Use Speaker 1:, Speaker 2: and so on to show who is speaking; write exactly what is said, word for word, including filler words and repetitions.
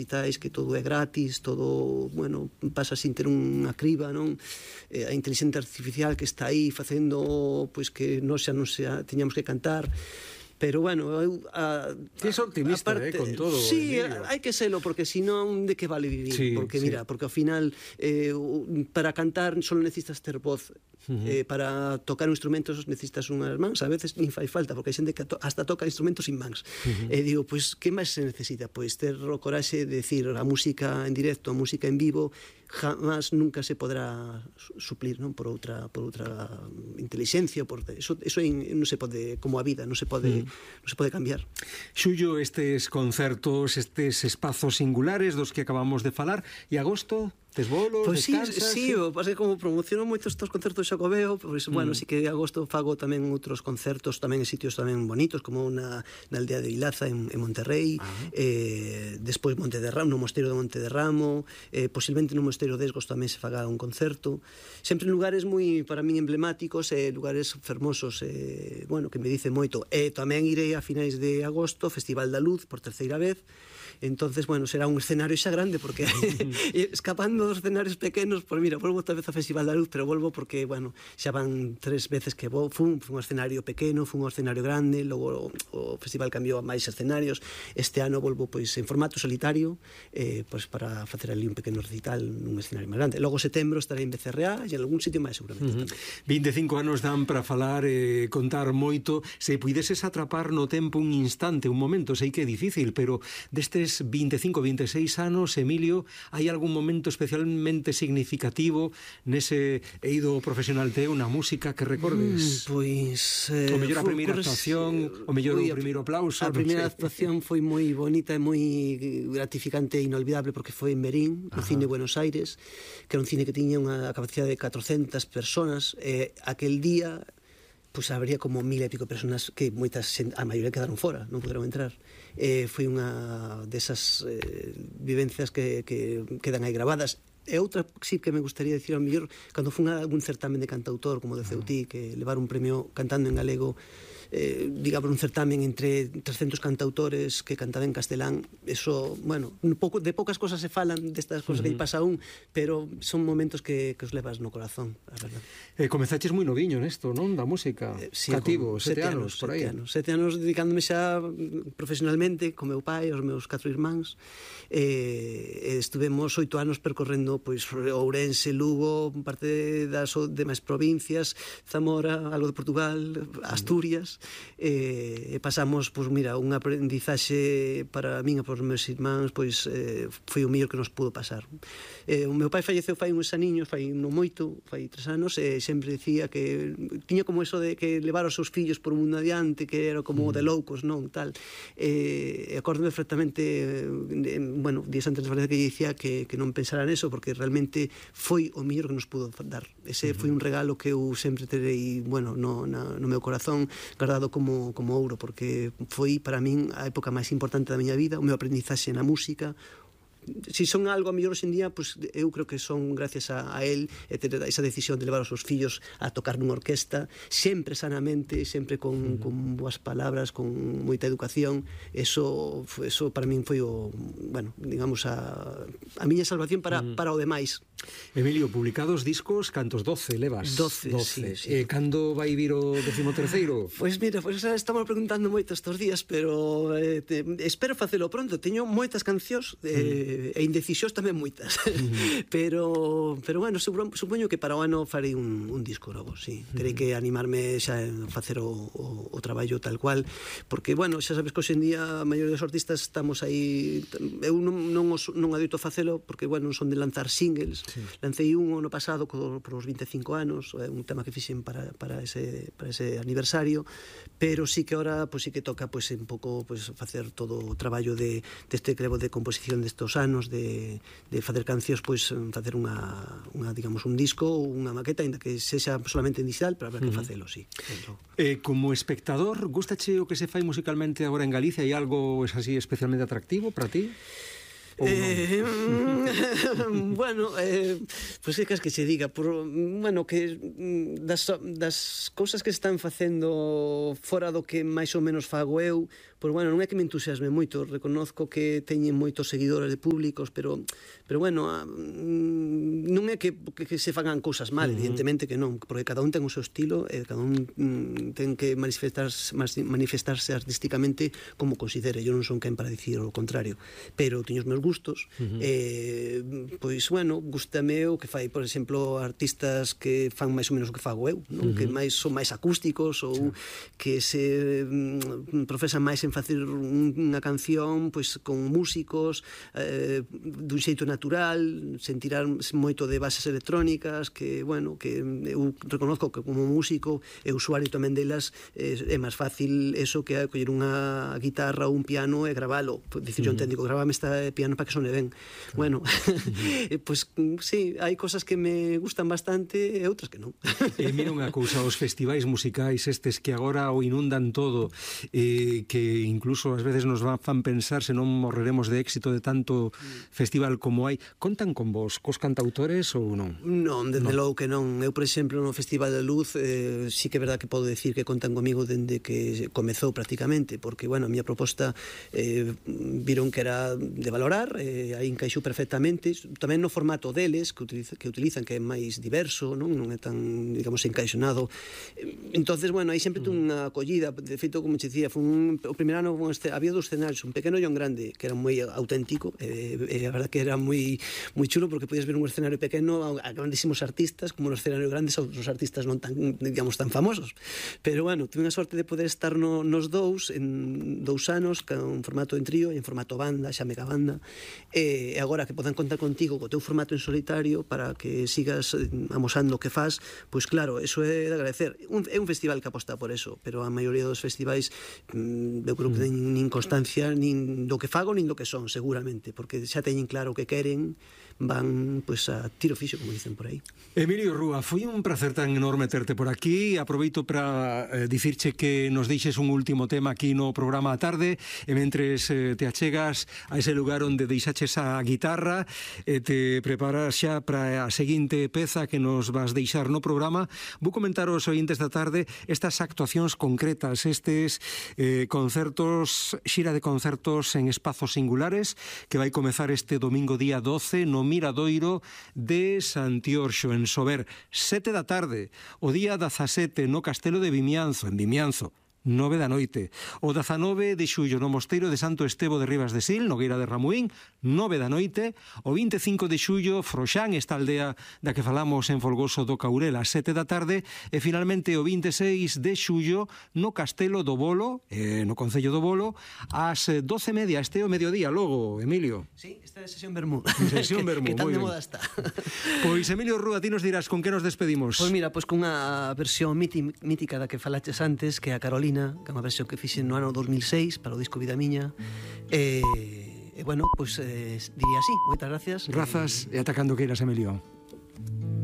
Speaker 1: digitais, que todo é gratis, todo, bueno, pasa sin ter unha criba, non? Eh, a inteligencia artificial que está aí facendo, pois, que nós xa non xa teñamos que cantar. Pero, bueno, eu... A,
Speaker 2: Ti es optimista,
Speaker 1: aparte,
Speaker 2: eh, con todo,
Speaker 1: sí,
Speaker 2: Emilio.
Speaker 1: hai que selo, porque senón de que vale vivir?
Speaker 2: Sí,
Speaker 1: porque,
Speaker 2: sí.
Speaker 1: mira, porque ao final, eh, para cantar só necesitas ter voz. Uh -huh. eh, para tocar instrumentos necesitas unhas mans, a veces nin fai falta, porque hai xente que to hasta toca instrumentos sin mans. Uh -huh. E digo, pois, pues, que máis se necesita? Pois pues, ter o coraxe de decir, a música en directo, a música en vivo, jamás nunca se podrá suplir, non, por outra por outra inteligencia, por eso eso non se pode, como a vida, non se pode, uh -huh. non se pode cambiar.
Speaker 2: Xullo, estes concertos, estes espazos singulares dos que acabamos de falar, e agosto, tes bolos,
Speaker 1: pues
Speaker 2: descansas?
Speaker 1: Sí, sí, o pasa que como promociono moito estes concertos Xacobeo, pois, pues, mm. bueno, sí que de agosto fago tamén outros concertos tamén en sitios tamén bonitos, como na, na aldea de Vilaza en, en Monterrey, uh -huh. eh, despois Monte de Ramo, no mosteiro de Monte de Ramo, eh, posiblemente no mosteiro de Esgos tamén se faga un concerto, sempre en lugares moi, para min, emblemáticos, eh, lugares fermosos, eh, bueno, que me dice moito. E eh, tamén irei a finais de agosto, Festival da Luz, por terceira vez. Entonces, bueno, será un escenario xa grande, porque escapando dos escenarios pequenos, pues mira, volvo outra vez ao Festival da Luz, pero volvo porque, bueno, xa van tres veces que vou, fun, fun un escenario pequeno, fun un escenario grande, logo o, o festival cambiou a máis escenarios. Este ano volvo, pois, en formato solitario, eh, pois, para facer ali un pequeno recital nun escenario máis grande. Logo setembro estarei en B C R A e en algún sitio máis, seguramente. Uh -huh.
Speaker 2: vinte e cinco anos dan para falar e eh, contar moito. Se puideses atrapar no tempo un instante, un momento, sei que é difícil, pero destes vinte e cinco, vinte e seis anos, Emilio, hai algún momento especialmente significativo nese eido profesional teu na música que recordes?
Speaker 1: Mm, pois... Eh,
Speaker 2: o mellor a primeira actuación, o mellor o primeiro aplauso.
Speaker 1: A primeira actuación foi moi bonita e moi gratificante e inolvidable, porque foi en Merín, no Cine Buenos Aires, que era un cine que tiña unha capacidade de catrocentas personas, e aquel día pois habría como mil e pico personas que moitas, a maioría quedaron fora, non poderon entrar. Eh, foi unha desas eh, vivencias que, que quedan aí grabadas. E outra sí que me gustaría dicir ao mellor, cando fun a algún certamen de cantautor como de Ceutí, que levar un premio cantando en galego, eh, digamos un certamen entre trescentos cantautores que cantaban en castelán, eso, bueno, un pouco, de poucas cosas se falan destas cosas uh -huh. que lle pasa a un, pero son momentos que, que os levas no corazón, a verdade.
Speaker 2: Eh, comezaches moi noviño nesto, non? Da música, eh, sí, cativo, sete, sete anos, por aí.
Speaker 1: Sete anos, sete anos dedicándome xa profesionalmente con meu pai, os meus catro irmáns, e eh, estuvemos oito anos percorrendo pois Ourense, Lugo, parte das demais provincias, Zamora, algo de Portugal, Asturias, e, e pasamos, pois mira, un aprendizaxe para min e para os meus irmáns, pois eh, foi o mellor que nos pudo pasar. Eh, o meu pai falleceu fai uns aniños, fai non moito, fai tres anos, e sempre dicía que tiña como eso de que levar os seus fillos por un mundo adiante, que era como mm. de loucos, non, tal. E eh, acórdome perfectamente, eh, bueno, días antes de que dicía que, que non pensara neso, porque realmente foi o mellor que nos pudo dar. Ese uh -huh. foi un regalo que eu sempre terei, bueno, no, na, no meu corazón, guardado como, como ouro, porque foi para min a época máis importante da miña vida, o meu aprendizaxe na música. Si son algo a mellor hoxe en día, pues, eu creo que son gracias a, a él, e ter esa decisión de levar os seus fillos a tocar nunha orquesta, sempre sanamente, sempre con, uh -huh. con boas palabras, con moita educación. Eso, eso para min foi o, bueno, digamos, a, a miña salvación para, uh -huh. para o demais.
Speaker 2: Emilio, publicados discos, cantos? doce levas?
Speaker 1: doce, sí, sí.
Speaker 2: Eh, cando vai vir o décimo terceiro?
Speaker 1: Pois pues mira, pues estamos preguntando moito estes días, pero eh, te, espero facelo pronto. Teño moitas cancións, eh, mm. e indecisións tamén moitas. Mm. pero, pero bueno, supoño que para o ano farei un, un disco novo, sí. Mm. Terei que animarme xa a facer o, o, o traballo tal cual, porque, bueno, xa sabes que hoxe en día a maioría dos artistas estamos aí, eu non, non, os, non adoito facelo, porque, bueno, non son de lanzar singles. Sí. Lancei un ano pasado por os vinte e cinco anos, é un tema que fixen para, para, ese, para ese aniversario, pero sí que ahora pues, sí que toca pues, un pouco pues, facer todo o traballo de, deste crevo de composición destos anos, de, de facer cancións, pues, facer unha, unha, digamos, un disco ou unha maqueta, ainda que sexa solamente en digital, pero habrá que facelo, sí.
Speaker 2: Eh, como espectador, gustache o que se fai musicalmente agora en Galicia? Hai algo así especialmente atractivo para ti?
Speaker 1: Eh, bueno, eh, pois pues é que es que se diga por, bueno, que das, das cousas que están facendo fora do que máis ou menos fago eu, pois bueno, non é que me entusiasme moito, reconozco que teñen moitos seguidores de públicos, pero pero bueno, a, non é que, que, que se fagan cousas mal, uh -huh. evidentemente que non, porque cada un ten o seu estilo, e cada un mm, ten que manifestarse, manifestarse artísticamente como considere. Eu non son quen para dicir o contrario, pero teño os meus gustos, uh -huh. eh, pois bueno, gustame o que fai, por exemplo, artistas que fan máis ou menos o que fago eu, non? Uh -huh. Que máis son máis acústicos ou sí. que se mm, profesan máis en facer unha canción pois con músicos eh, dun xeito natural, sen tirar moito de bases electrónicas, que, bueno, que eu reconozco que como músico e usuario tamén delas eh, é máis fácil eso que a coller unha guitarra ou un piano e gravalo. Dicir, yo entendi, gravame esta piano para que sone ben. Bueno, pois sí, hai cosas que me gustan bastante e outras que non.
Speaker 2: E mira unha cousa, os festivais musicais estes que agora o inundan todo, eh, que incluso ás veces nos fan pensar se non morreremos de éxito de tanto festival como hai, contan con vos, cos cantautores ou non?
Speaker 1: Non, desde logo que non. Eu, por exemplo, no Festival da Luz eh, sí que é verdad que podo decir que contan comigo dende que comezou prácticamente, porque, bueno, a miña proposta eh, viron que era de valorar, eh, aí encaixou perfectamente, tamén no formato deles, que, utiliza, que utilizan, que é máis diverso, non, non é tan, digamos, encaixonado. Entonces, bueno, aí sempre tuve unha acollida. De feito, como te dicía, foi un, o primeiro ano este, había dos escenarios, un pequeno e un grande, que era moi auténtico, e eh, eh, a verdad que era moi moi chulo, porque podías ver un escenario pequeno a grandísimos artistas, como no escenario grandes a outros artistas non tan, digamos, tan famosos. Pero, bueno, tuve unha sorte de poder estar no, nos dous, en dous anos, con formato en trío e en formato banda, xa mega banda, e agora que podan contar contigo co teu formato en solitario para que sigas amosando o que faz, pois claro, eso é de agradecer. Un, é un festival que aposta por eso, pero a maioría dos festivais eu creo que teñen nin constancia nin do que fago nin do que son, seguramente, porque xa teñen claro o que queren, van pois a tiro fixo, como dicen por aí.
Speaker 2: Emilio Rúa, foi un placer tan enorme terte por aquí. Aproveito para eh, dicirche que nos deixes un último tema aquí no programa a tarde, e mentres eh, te achegas a ese lugar onde deixaches a guitarra e eh, te preparas xa para a seguinte peza que nos vas deixar no programa, vou comentar aos ointes da tarde estas actuacións concretas, estes eh, concertos, xira de concertos en espazos singulares, que vai comezar este domingo día doce no Miradoiro de Santiorxo, en Sober, sete da tarde. O día dezasete no Castelo de Vimianzo, en Vimianzo, nove da noite. O dezanove de xullo no Mosteiro de Santo Estevo de Ribas de Sil, Nogueira de Ramuín, nove da noite. O vinte e cinco de xullo, Froxán, esta aldea da que falamos en Folgoso do Caurel, a sete da tarde. E finalmente o vinte e seis de xullo no Castelo do Bolo, eh, no Concello do Bolo, ás doce e media, este o mediodía, logo, Emilio.
Speaker 1: Sí, esta é sesión Bermú.
Speaker 2: Sesión Bermú,
Speaker 1: que, que tan
Speaker 2: moi
Speaker 1: de
Speaker 2: ben.
Speaker 1: moda está.
Speaker 2: Pois, Emilio Rúa, ti nos dirás con que nos despedimos.
Speaker 1: Pois mira, pois con unha versión mítica da que falaches antes, que é a Carolina, que é unha versión que fixen no ano dos mil seis para o disco Vida Miña. E, e bueno, pois eh, diría así, moitas gracias.
Speaker 2: Grazas e atacando queiras, Emilio.